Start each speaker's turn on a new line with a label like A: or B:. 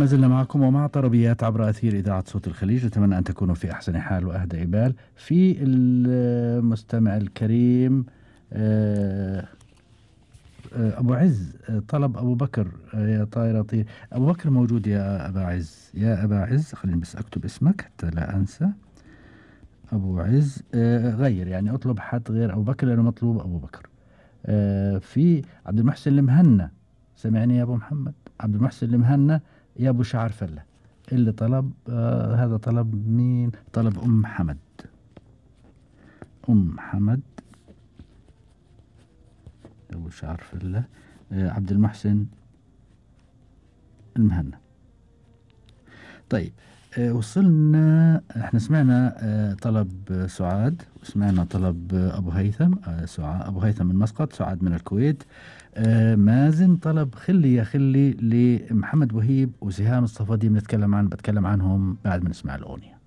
A: ما زلنا معكم ومع طربيات عبر أثير إذاعة صوت الخليج. أتمنى أن تكونوا في أحسن حال وأهدى بال. في المستمع الكريم أبو عز طلب أبو بكر يا طائرة طير. أبو بكر موجود يا أبا عز. يا أبا عز خليني بس أكتب اسمك حتى لا أنسى. أبو عز غير يعني أطلب حد غير أبو بكر لأنه مطلوب أبو بكر. في عبد المحسن المهنا. سمعني يا أبو محمد. عبد المحسن المهنا يا أبو شعر فلة اللي طلب هذا طلب مين؟ طلب أم حمد. أم حمد أبو شعر فلة عبد المحسن المهنا. طيب وصلنا احنا سمعنا طلب سعاد وسمعنا طلب أبو هيثم. أبو هيثم من مسقط، سعاد من الكويت. مازن طلب خلي يا خلي لمحمد وهيب وسهام الصفدي. بتكلم عنهم بعد ما نسمع الأغنية.